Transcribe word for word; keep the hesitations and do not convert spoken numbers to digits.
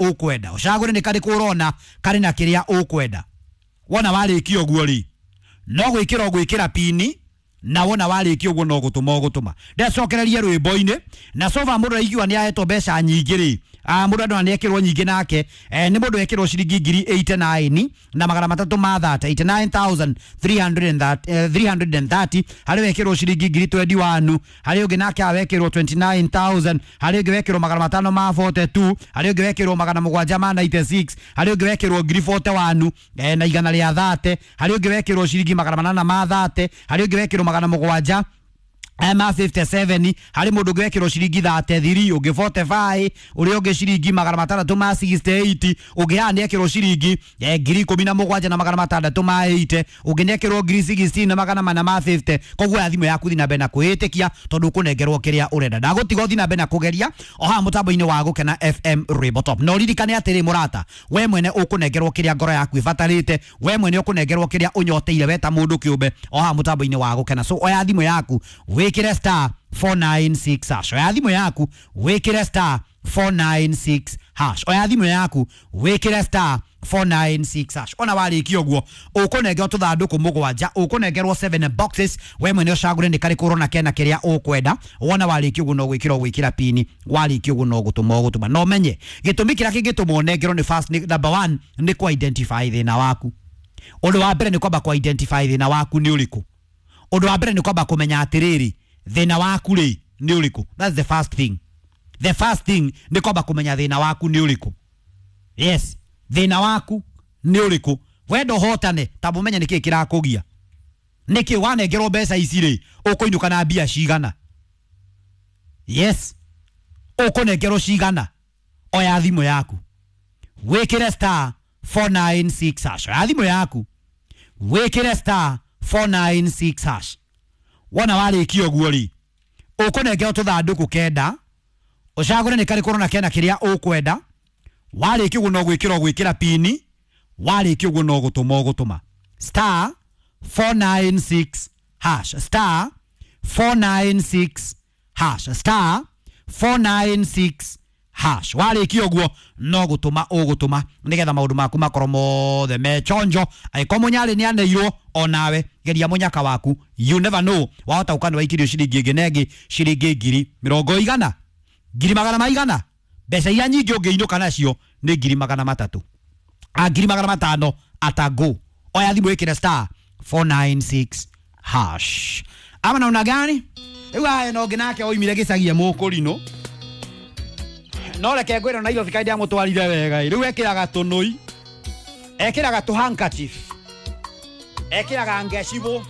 Ũkwenda ũcagũre nĩ karĩkũ ũrona karĩ na kĩrĩa ũkwenda. Wona warĩkia ũguo rĩ, no gwĩkĩra ũgwĩkĩra pini, na wona warĩkia ũguo no gũtũma ũgũtũma. Ndecokererie rwĩmbo-inĩ na sofa mũndũ araigua nĩ ahetwo mbeca nyingĩ rĩ, ah, mũndũ andũ nĩ ekĩrwo nyingĩ nake, eh, nĩ mũndũ ekĩrwo ciringi ngiri eighty-nine na magana matatũ ma thate, eighty-nine thousand three hundred thirty. Harĩ wekĩrwo ciringi ngiri twenty-one, harĩ ũngĩ nake awekĩrwo twenty-nine thousand, harĩ ũngĩ wekĩrwo magana matano ma forty-two, harĩ ũngĩ wekĩrwo magana mũgwanja ma ninety-six, harĩ ũngĩ wekĩrwo ngiri forty-one eh, na igana rĩa thate, harĩ ũngĩ wekĩrwo ciringi magana manana ma thate, harĩ ũngĩ wekĩrwo magana mũgwanja ma fifty-seven, harĩ mũndũ ũngĩ wekĩrwo ciringi thirty-three, ũngĩ forty-five, ũrĩa ũngĩ ciringi magana matandatũ ma sixty-eight, ũngĩ haha nĩ ekĩrwo ciringi eh, ngiri ikũmi na mũgwanja na magana matandatũ ma eighty, ũngĩ nĩ ekĩrwo ngiri sixteen na magana mana ma fifty. Koguo ya thimũ yaku, thiĩ na mbere na kwĩĩtĩkia tondũ ũkũnengerwo kĩrĩa ũrenda. Ndagũtiga ũthiĩ na mbere na kũgeria o haha mũtambo-inĩ wa Gũkena F M Rwĩmbo Top. Na ũririkane atĩrĩ mũrata, we mwene ũkũnengerwo kĩrĩa ngoro yaku ĩbatarĩte, we mwene ũkũnengerwo kĩrĩa ũnyoteire we ta mũndũ kĩũmbe o haha mũtambo-inĩ wa Gũkena. So oya thimũ yaku, wĩkĩre star four nine six hash. Oya thimũ yaku, wĩkĩre star four nine six hash. Oya thimũ yaku, wĩkĩre star four nine six hash. Ona warĩkia ũguo, ũkũnengerwo tũthandũkũ mũgwanja, ũkũnengerwo seven boxes. We mwene ũcagũre nĩ karĩkũ ũrona kena kĩrĩa ũkwenda. Wona warĩkia ũguo, no gwĩkĩra ũgwĩkĩra pini. Warĩkia ũguo, no gũtũma ũgũtũma. Na ũmenye gĩtũmi kĩrĩa kĩngĩtũma ũnengerwo nĩ first, nĩ number one, nĩ kũ identify thĩna waku. Ũndũ wa mbere nĩ kwamba kũ identify thĩna waku nĩ ũrĩkũ. Ũndũ wa mbere nĩ kwamba kũmenya atĩrĩrĩ, thĩna waku rĩ nĩ ũrĩkũ. That's the first thing. The first thing nĩ kwamba kũmenya thĩna waku nĩ ũrĩkũ. Yes, thĩna waku nĩ ũrĩkũ. Wenda ũhotane, tamba ũmenye nĩkĩĩ kĩrakũgia, nĩkĩ wanengerwo mbeca ici rĩ, ũkũinũka na mbia cigana. Yes, ũkũnengerwo cigana. Oya thimũ yaku, wĩkĩre star four nine six hash. Oya thimũ yaku, wĩkĩre star four nine six hash. Wona warĩkia ũguo rĩ, ũkũnengerwo tũthandũkũ kenda, ũcagũre nĩ karĩkũ ũrona kena kĩrĩa ũkwenda. Warĩkia ũguo, no gwĩkĩra ũgwĩkĩra pini. Warĩkia ũguo, no gũtũma ũgũtũma. Star four nine six hash, star four nine six hash, star four nine six hash. Warĩkia ũguo, no gũtũma ũgũtũma nĩgetha maũndũ maku makorwo mothe me chonjo. Angĩkorwo mũnyarĩ nĩ aneirwo, onawe geria mũnyaka waku. You never know, wahota gũka nĩ waikirio ciringi ĩngĩ na ĩngĩ, ciringi ngiri mĩrongo igana, ngiri magana maigana. Mbeca iria nyingĩ ũngĩinũka nacio nĩ ngiri magana matatũ, a ngiri magana matano atago. Oya thimũ, ĩkĩre star four nine six hash. Ama naona gani rĩu aya no ũngĩ nake oimire gĩcagia mũkũrinũ, no reke ngwĩre Nairobi kaĩ ndĩamũtwarire wega. Rĩu ekĩraga tũnũi, ekĩraga tũ handkerchief, ekĩraga ngecibũ.